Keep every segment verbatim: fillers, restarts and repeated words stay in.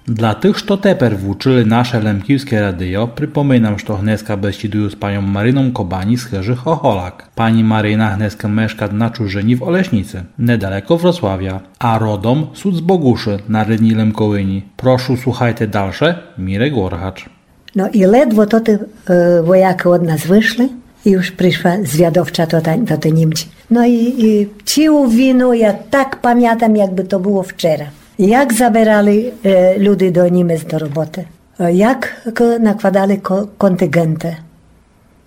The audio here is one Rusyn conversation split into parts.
Для тых, што тепер вучыли наше Лемківске радіо, припоминам, што гнеска бесідую з паньом Марином Кобані з Хыжы Хохолак. Пані Марина гнеска мешкат на чужыні в Олешніци, недалеко Вроцлавя, а родом сут з Богушы на Рідній Лемковині. Прошу, слухайте дальше, Мірек Оргач. Но і ледво тоты, е, воякы од нас вышли, і уж пришла звядовча тота, тоты Німці. Но і, і цілу війну я так памятам, якбы то было вчера. Як заберали, е, люди до Німец до роботы. Е, як к-, накладали ко-, континґенты.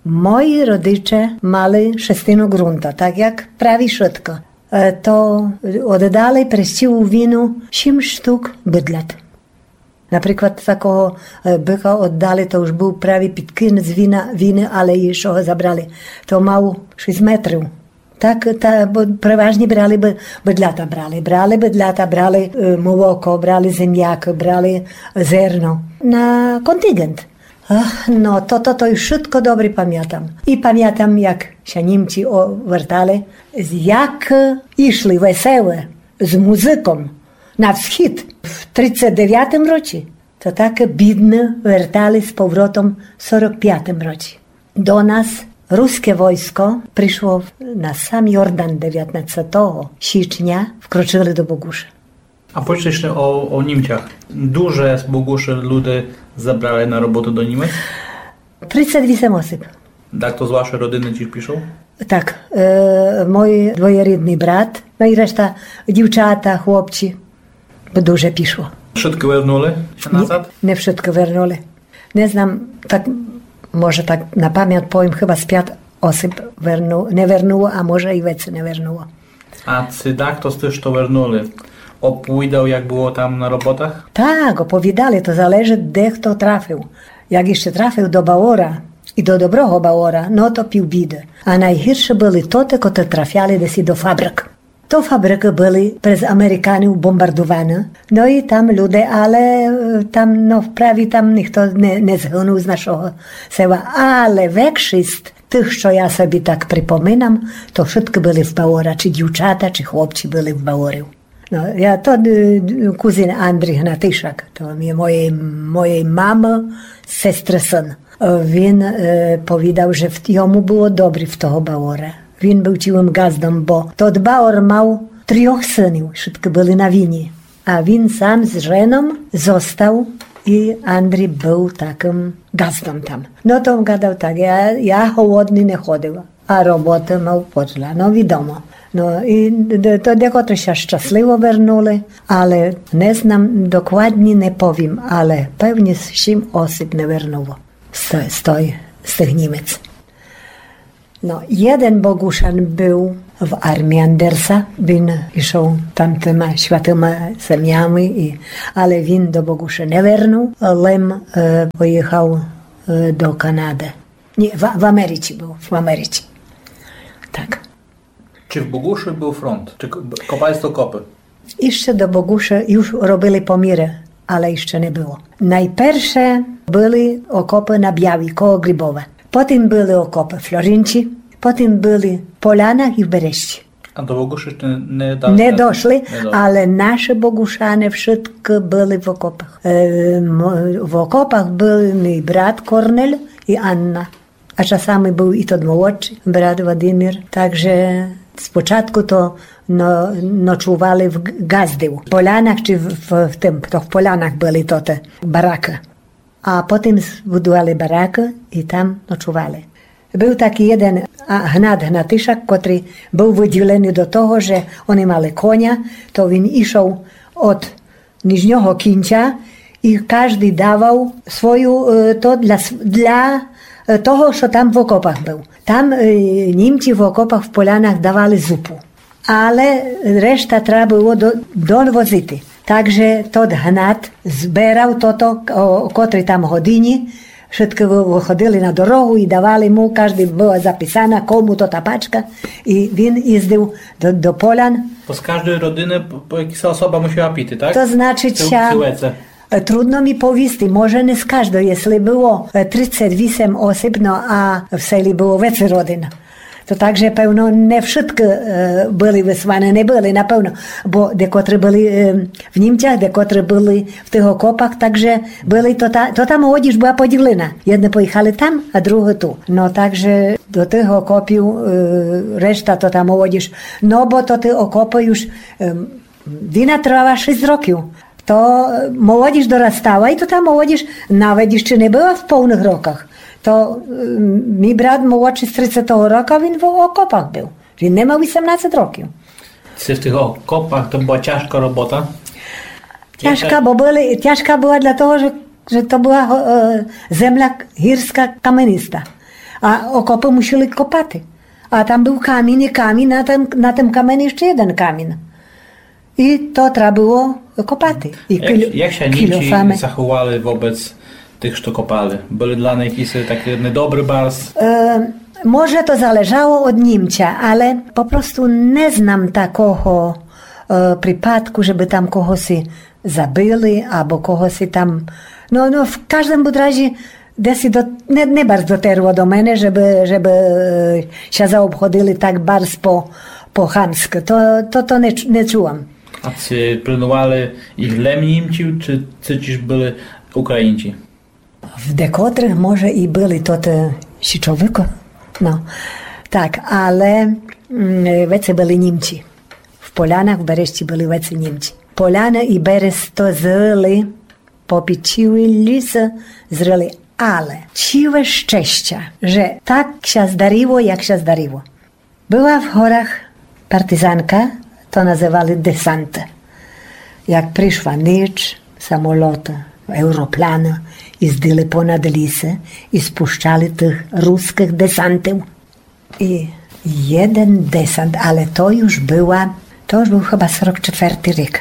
Мої родиче мали шестину ґрунта, так як праві шытко. Е, то оддали през цілу війну сім штук быдлят. Наприклад, такого, е, быка оддали, то уж быв праві під кінець війна, війны, але іщы го забрали. То мав шість метрів. Так, та, бо переважні брали бы-, быдлята брали. Брали быдлята, брали, е, молоко, брали земякы, брали зерно. На континґент. Ах, но, то, то, то і шытко добрі памятам. І памятам, як ся Німці о-, вертали, з-, як, е, ішли веселе з музыком на всхід в тридцет девятым році, то так бідны вертали з повротом в сорок пятым році. До нас руске войско пришло на сам Йордан девятнадцятого січня, вкрочыли до Богушы. А повіджте іщы о, о Німцях. Дуже з Богушы люде забрали на роботу до Німец? Тридцет вісем осіб. Дахто з вашой родины тіж пішов? Так, е, мой двоєрідный брат, но і решта дівчата, хлопці. Бо дуже пішло. Вшыткы вернули ся назад? Не вшыткы вернули. Не знам, так, може, так на памят повім, хыба з пят осіб верну-, не вернуло, а може і веце не вернуло. А ци дахто з тых, што вернули, оповідав, як было там на роботах? Так, оповідали, то залежыт, де хто трафив. Як іщы трафив до бавора, і до доброго бавора, но то пів біды. А найгіршы были тоты, котры трафяли десь і до фабрик. То фабрикы были през Американів бомбардуваны. Но і там люде, але, е, там, но, вправі там нихто не, не згынув з нашого села. Але векшіст тых, што я собі так припоминам, то вшыткы были в бавора, ци дівчата, ци хлопці были в баворів. Но, я то, е, кузин Андрій Гнатишак, то є моєй, моєй мамы сестры сын. Е, він, е, повідав, же в-, йому было добрі в того бавора. Він быв цілым ґаздом, бо тот бавор мав трьох сынів, вшыткы были на війні. А він сам з женом зостав, і Андрій быв такым ґаздом там. Но то гадав так, я, я голодный не ходив, а роботы мав подля, но, відомо. Но і де-, то декотры ся щасливо вернули, але не знам, докладні не повім, але певні сім осіб не вернуло з, з той, з тых Німец. Но, єден Богушан быв в армії Андерса, він ішов там тыма святыма землями, і, але він до Богуші не вернув, лем, е, поїхав, е, до Канады. Ні, в, в Америці быв, в Америці. Так. Ци в Богуші быв фронт? Ци к-, б-, копали сте окопы? Іщы до Богуші юж робили поміры, але іщы не было. Найперше были окопы на Бявій, коло Грибова. Потім были окопы в Флоринці, потім были в Полянах і в Берещі. А до Богуші іщы не, не дали? Не дошли, не дошли, але нашы Богушане вшыткы были в окопах. Е, м-, в окопах быв мій брат Корнель і Анна. А часами быв і тот молодшый брат Владимир. Так же спочатку то но-, ночували в Г-, Ґаздів, в Полянах ци в, в, в тым, то в Полянах были тоты баракы. А потім збудували баракы і там ночували. Быв такій єден, а, Гнат Гнатишак, котрый быв выділеный до того, же они мали коня, то він ішов од нижнього кінця і каждый давав свою, е, то для с-, для, е, того, што там в окопах быв. Там, е, Німці в окопах, в Полянах давали зупу. Але решта треба было до-, довозити. Так же тот Гнат зберав тото, о, о котрій там годині, вшыткы вы-, выходили на дорогу і давали му, каждый была записана, кому то та пачка, і він їздив до, до Полян. То з каждой родины по, по якась особа мусила піти, так? То значыт, ся, е, трудно мі повісти, може не з каждой, єсли было, е, тридцет вісем осіб, но а в селі было веце родин. То так же, певно, не вшыткы, е, были высланы, не были, напевно, бо декотры были, е, в Німцях, декотры были в тых окопах, так же были, то та, то та молодіж была поділена. Єдны поіхали там, а другы ту. Но так же до тых окопів, е, решта то та молодіж. Но бо то ты окопы юж, е, війна тривала шіст років. То, е, молодіж дорастала, і то та молодіж навет іщы не была в полных роках. То, е, мій брат молодшый з тридцятого рока, він в окопах был. Він не мав вісемнадцет років. Ци в тых окопах то была тяжка робота? Тяжка, бо были, тяжка была для того, же, же то была, е, земля гірска, камениста. А окопы мусили копати. А там был камін і камін, на тым, на тым камені іщы єден камін. І то треба было копати. І як, кіль-, як ся Німці кільофами заховали вобрац тых, што копали? Были для них якісь такі недобрі барз? Е, може, то залежало од Німця, але попросту не знам такого, е, припадку, жебы там когоси забили, або когоси там, но, но, в каждым будь разі, деси до, не, не барз дотерло до мене, жебы, жебы, е, ся заобходили так барз по, по хамскы. То, то, то не ч-, не чула. А ци пильнували їх лем Німці, ци, ци тіж были Українці? В декотрых, може, і были тоты січовикы. Но. Так, але, м, веце были Німці. В Полянах, в Бересці были веце Німці. Поляны і Бересто зрыли, попічили ліс, зрыли. Але ціле щестя, же так ся здарило, як ся здарило. Была в горах партизанка, то называли десант. Як пришла ніч, самолоты, еуропланы іздили понад лісы і спущали тых рускых десантів. І єден десант, але то юж была, то юж был хыба сорок четвертый рік.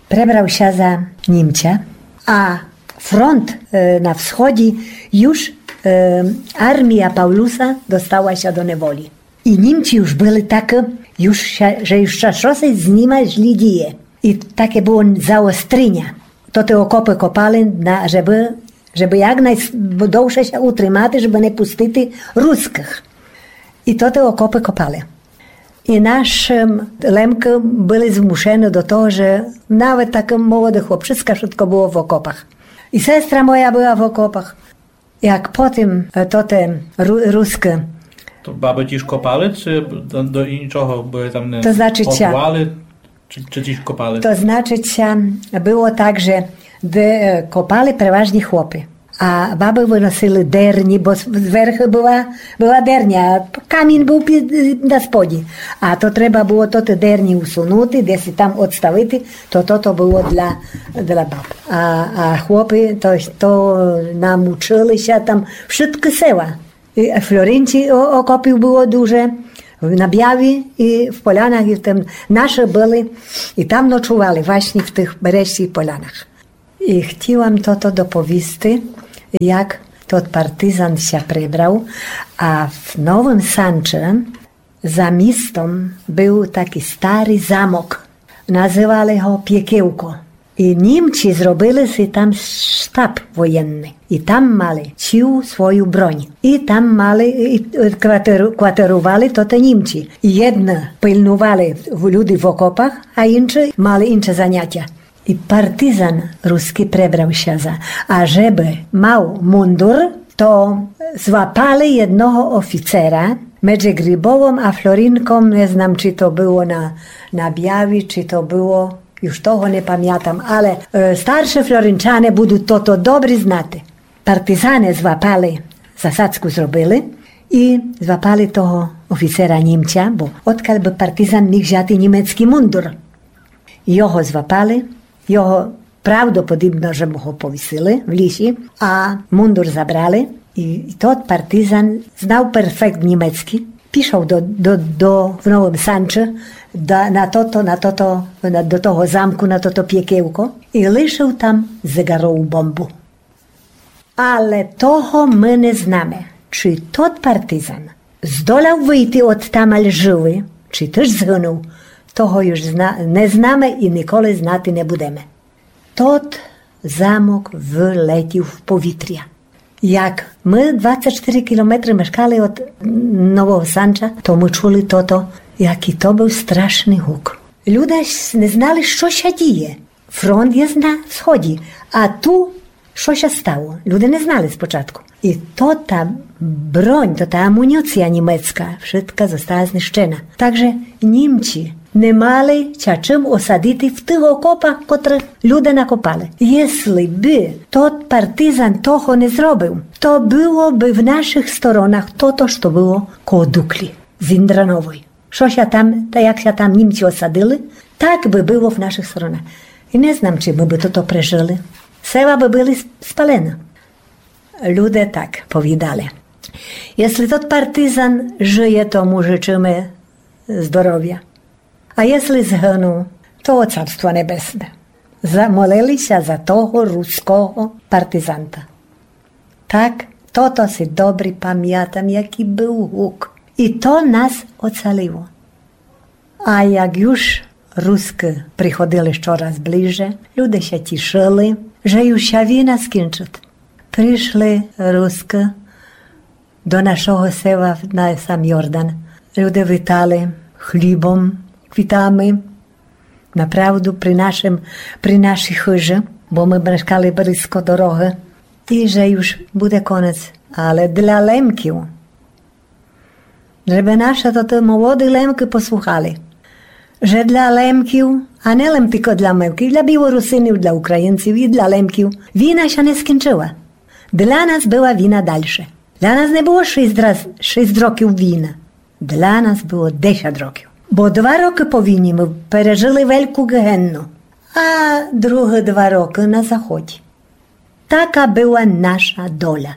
Пребрав ся за Німця, а фронт, е, на всході юж, е, армія Павлуса достала ся до неволі. І Німці юж были такы, юж ся, же юж ся штоси з нима злі діє. І таке было заостріня. То тоты окопы копали, на, жебы, жебы як найдовше ся утримати, жебы не пустити рускых. І то тоты окопы копали. І нашым лемкы были змушены до того, же навет такы молоды хлопчыска, вшытко было в окопах. І сестра моя была в окопах. Як потім, е, тоты ру-, рускы. То бабы тіж копали, ци до, до іншого, бо там не... То значыт ся, готували, ци, ци тіж копали? То значыт ся, было так, же де, е, копали переважні хлопы. А бабы выносили дерні, бо з-, зверхы была, была дерня, а камін был під, на споді. А то треба было тоты дерні усунути, деси там одставити, то, то, то было для, для баб. А, а хлопы то, то намучыли ся там вшыткы села. І в Флоринці о-, окопів было дуже, в Набяві і в Полянах, і в тым нашы были, і там ночували власні в тых Бересці і Полянах. І хтіла м тото доповісти, як тот партизан ся прибрав, а в Новым Санчы за містом был такій старый замок. Называли го Пєкелко. І Німці зробили си там штаб воєнный. І там мали цілу свою бронь. І там мали, і, і кватеру-, кватерували тоты Німці. І єдны пильнували в-, люди в окопах, а інші мали інше занятя. І партизан рускій пребрав ся за, а жебы мав мундур, то злапали єдного офіцера меджы Грибовом а Флоринком, не знам, ци то было на, на Бяві, ци то было, юж того не памятам, але, е, старшы Флоринчане будут тото добрі знати. Партизане злапали, засадку зробили і злапали того офіцера Німця, бо одкаль бы партизан міг взяти німецкій мундур. Його злапали, його правдоподібно, же му го повісили в лісі, а мундур забрали. І, і тот партизан знав перфект німецкій, пішов до, до, до, в Новым Санчы, да, на тото, на тото, на, до того замку, на тото Пєкелко і лишыв там зеґарову бомбу. Але того мы не знаме, ци тот партизан здоляв выйти одтамаль жывый, ци тыж згынув, того юж зна-, не знаме і николи знати не будеме. Тот замок вылетів в повітря. Як мы двадцет штыри кілометры мешкали од Нового Санча, то мы чули тото, якій то быв страшный гук. Люде сь не знали, што ся діє. Фронт єст на сході, а ту што ся стало? Люде не знали спочатку. І то та бронь, то та амуніція німецка, вшытка зостала знищена. Так же Німці не мали ся чым осадити в тых окопах, котрых люде накопали. Єсли бы тот партизан того не зробив, то было бы в нашых сторонах тото, што было коло Дуклі, Зіндрановой. Што ся там, та як ся там Німці осадили, так бы было в нашых сторонах. І не знам, ци мы бы тото прежыли. Села бы были сп-, спалены. Люде так повідали. Єсли тот партизан жыє, то му жычыме здоровя. А єсли згынул, то Царство Небесне. Замолили ся за того руского партизанта. Так, тото си добрі памятам, якій быв гук. І то нас оцалило. А як юж Рускы приходили щораз ближе, люде ся тішыли, же юж ся війна скінчыт. Пришли Рускы до нашого села на сам Йордан. Люде вітали хлібом, квітами. Направду при нашым, при нашій хыжы, бо мы мешкали близько дорогы. І же юж буде конець, але для Лемків. Жебы нашы тоты молоды Лемкы послухали. Же для Лемків, а не лем тілько для Лемків, для Білорусинів, для Українців і для Лемків. Війна ся не скінчыла. Для нас была війна дальше. Для нас не было шість раз, шість років війна. Для нас было десять років. Бо два рокы по війні мы пережыли вельку генну, а другы два рокы на заході. Така была наша доля.